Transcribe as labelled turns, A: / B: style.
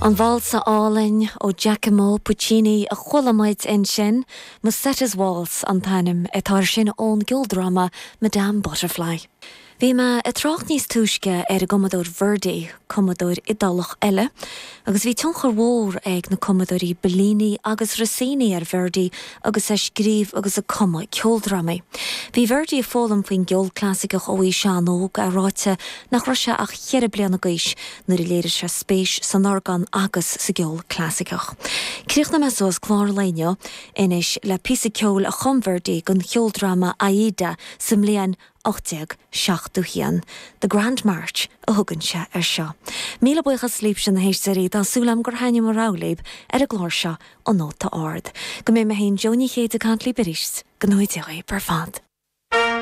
A: An válsa álainn ó Giacomo Puccini a chuala muid ansin, Musetta's Waltz an t-ainm atá air sin ón gceoldráma Madame Butterfly. Bhí mé ag trácht níos túisce ar an gcumadóir Verdi, cumadóir Iodálach eile, agus bhí tionchar mhór ag na cumadóirí Bellini agus Rossini ar Verdi agus é ag scríobh agus ag cumadh ceoldrámaí. Bhí Verdi ag foghlaim faoin gceol clasaiceach ó aois an-óg, é ráite nach raibh sé ach cheithre bliana d'aois nuair a léirigh sé spéis san orgán agus sa gceol clasaiceach. Críochnóidh mé suas clár an lae inniu anois le píosa ceoil a chum Verdi don cheoldráma Aida sa mbliain 1871. The Grand March a thugann sé air seo. Míle buíochas libhse na héisteoirí, tá súil agam gur thaitnigh mo rogha libh ar an gclár seo, An Nóta Ard. Go mbeidh mé féin Jó Ní Chéide ag caint libh arís, go ngnóthaí Dia dhaoibh ar fad.